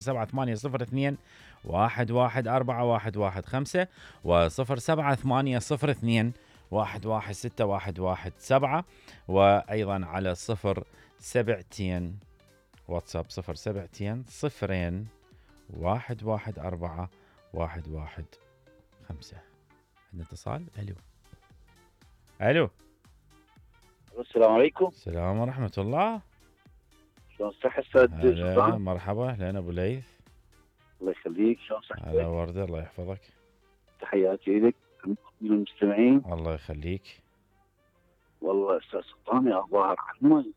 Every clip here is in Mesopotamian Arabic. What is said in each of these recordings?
780 114115 و0780 116117 وأيضا على 07 واتساب 07 0 114 115. عندنا اتصال. الو. السلام عليكم. السلام ورحمة الله. شلون صحة استاذ سلطان؟ مرحبا، اهلين ابو ليث. الله يخليك، شلون صحتك؟ هلا وردة، الله يحفظك. تحياتي لك المستمعين. الله يخليك. والله استاذ سلطان يا ظاهر على المي.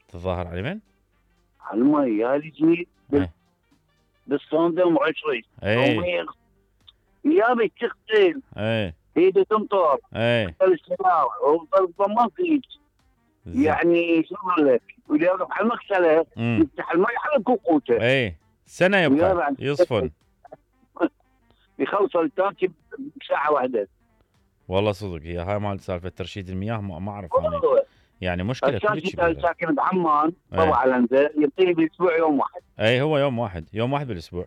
تظاهر على من؟ على المي يا لي جيت بالصندوق وعشري. يابي تغسل. ايده تمطر. السيارة وضمان فيك. يعني شو اقول لك؟ واللي يقف على المغسله يفتح المي على كوكوته. سنه يبقى يصفن. يخلص التانكي بساعه واحده. والله صدق هي هاي مال سالفه ترشيد المياه ما اعرف انا. يعني مشكله كلش كبيره. ساكن بعمان طبعا الانزل يعطيني بالاسبوع يوم واحد. هو يوم واحد بالاسبوع.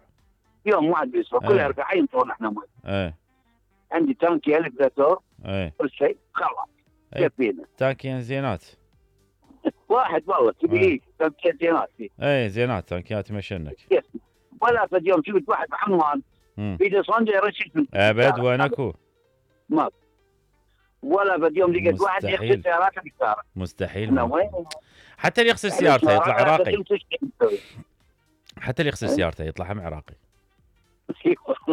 يوم واحد بالاسبوع كل 40 ينطون احنا مي. عندي تانكي 1000 لتر. كل شيء خلاص كفينا. تانكيين زينات. واحد والله تبي تانكيات زينات. زينات تانكيات مشنك. ولا فد يوم شفت واحد بعمان في صندوق يرشد ابد وين اكو؟ ما ولا فد يوم لقيت واحد يغسل سيارته بالشارع. مستحيل. حتى اللي يغسل سيارته يطلع عراقي. حتى اللي يغسل سيارته يطلع هم عراقي.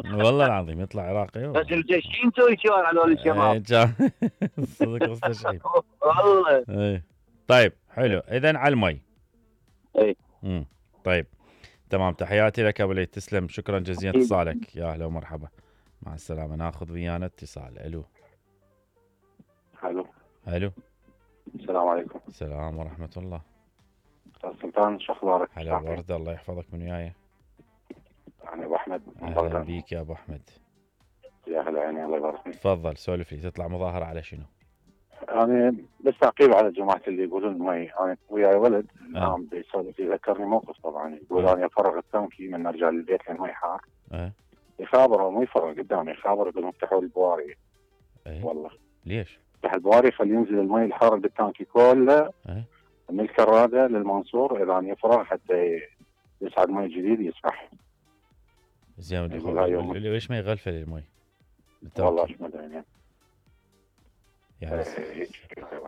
والله العظيم يطلع عراقي. بس الجشين توي شوار هذول الشباب. صدق مستشعر. والله. طيب حلو، اذا على المي. طيب تمام، تحياتي لك ابو ليث، تسلم، شكرا جزيلا اتصالك، يا اهلا ومرحبا، مع السلامه. ناخذ ويانا اتصال. الو. السلام عليكم. السلام ورحمه الله. استاذ سلطان شو اخبارك؟ هلا ورده، الله يحفظك. من وياي؟ انا ابو احمد. اهلا بيك يا ابو احمد. يا هلا يعني، الله يبارك فيك. تفضل سولف لي. تطلع مظاهره على شنو؟ انا بس تعقيب على جماعه اللي يقولون مي. انا وياي ولد نعم بيسولف، يذكرني موقف طبعا. يقول انا افرغ التانكي من ارجع للبيت لان المي حار. يخابر مو يفرغ قدامي، يخابر يقول افتحوا البواري. والله ليش؟ افتح البواري خلي ينزل المي الحار بالتانكي كله من الكراده للمنصور اذا يفرغ حتى يصعد مي جديد يسبح. زين ليش ما يغلفه المي؟ والله ايش ما ادري يعني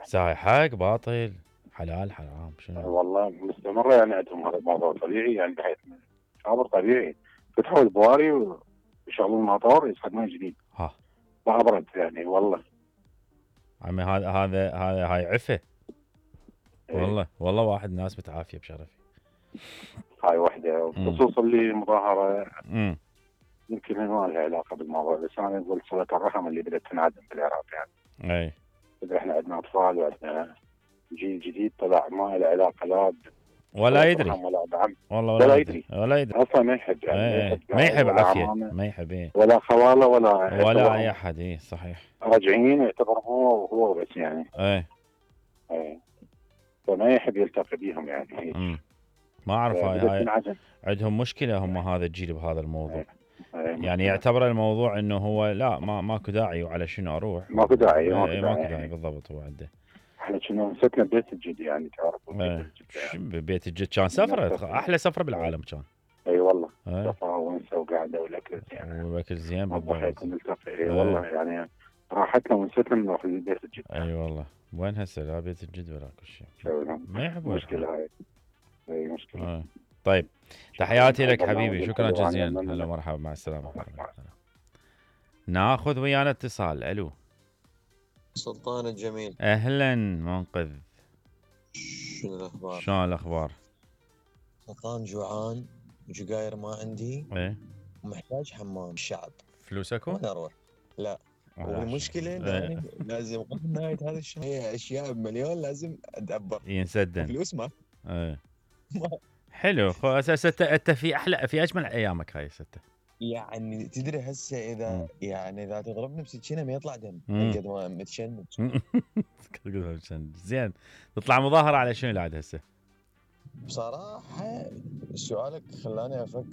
ساعي حق باطل حلال حرام شنو؟ والله مستمره يعني عندهم هذا الموضوع طبيعي، يعني بحيث خبر طبيعي فتحوا البواري ويشغلون الموتور يصعد مي جديد. ما ابرد يعني والله. عمي هاي عفه. والله واحد ناس متعافيه بشرفي. هاي وحده. بخصوص اللي مظاهره يمكن ما لها علاقه بالموضوع، بس انا اقول صله الرحم اللي بدات تنعدم بالعراق يعني. احنا عندنا اطفال وعندنا جيل جديد طلع ما له علاقه لا ولا يدري ولا دعم. والله ولا يدري اصلا ما يحب يعني. ما يحب عافيه، ما يحب ولا خواله ولا اي احد. صحيح. راجعين يعتبر هو بس يعني. فما يحب يلتقي بيهم يعني. ما اعرف هاي عندهم مشكله هم هذا الجيل بهذا الموضوع. يعني يعتبر الموضوع انه هو لا ماكو داعي وعلى شنو اروح. ماكو داعي بالضبط. هو عنده. احنا كنا مسكنا ببيت الجد يعني تعرف. بيت الجد كان سفره، احلى سفره بالعالم كان. اي والله. سفره ونسه وقعده والاكل يعني. والاكل زين بالضبط. نلتقي والله يعني راحتنا ونستنا نروح لبيت الجد. اي والله. وين هسه لا بيت الجد ولا كل شيء. ما يحبون. مشكله هاي. اي مشكله. طيب تحياتي لك حبيبي، شكرا جزيلا. هلا مرحبا، مع السلامه. ناخذ ويانا اتصال. الو. سلطان الجميل. اهلا منقذ. شنو الاخبار؟ شلون الاخبار؟ سلطان جوعان وجقاير ما عندي. ومحتاج حمام الشعب. فلوسك؟ وين اروح؟ لا. والمشكله لازم قبل نهايه هذا الشهر هي اشياء بمليون لازم ادبر ينسدن فلوس ما. حلو. اساسا انت في اجمل ايامك هاي ستة. يعني تدري هسه اذا يعني اذا تضربني بسكينه ما يطلع دم قد ما متشنج. زين تطلع مظاهره على شنو العاد هسه؟ بصراحه سؤالك خلاني افكر.